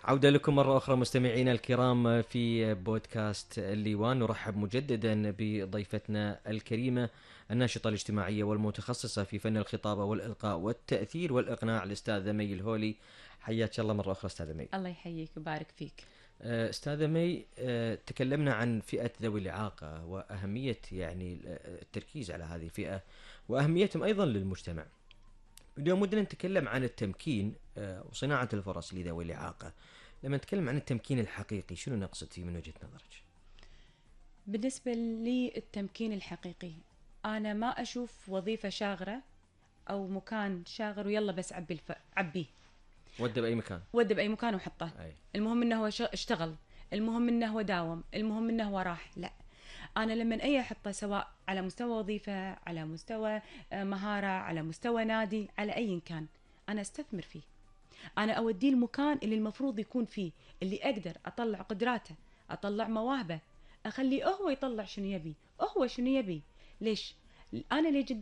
عودة لكم مرة أخرى مستمعينا الكرام في بودكاست الليوان. نرحب مجددا بضيفتنا الكريمة الناشطة الاجتماعية والمتخصصة في فن الخطابة والإلقاء والتأثير والإقناع الأستاذة مي الهولي. حياك الله مرة أخرى أستاذة مي. الله يحييك ويبارك فيك. أستاذة مي، تكلمنا عن فئة ذوي الإعاقة وأهمية يعني التركيز على هذه الفئة وأهميتهم أيضا للمجتمع. اليوم ودنا نتكلم عن التمكين وصناعة الفرص لذوي الإعاقة. لما نتكلم عن التمكين الحقيقي شنو نقصد فيه من وجهة نظرك؟ بالنسبة لي التمكين الحقيقي، أنا ما أشوف وظيفة شاغرة أو مكان شاغر ويلا بس عبيه وده بأي مكان، وده بأي مكان وحطه. أي. المهم إنه هو اشتغل، المهم إنه هو داوم، المهم إنه هو راح. لا، أنا لما أي أحطه سواء على مستوى وظيفة، على مستوى مهارة، على مستوى نادي، على أي كان، أنا أستثمر فيه. أنا أوديه المكان اللي المفروض يكون فيه، اللي أقدر أطلع قدراته، أطلع مواهبه، أخليه هو يطلع شنو يبي، هو شنو يبي. ليش؟ أنا ليه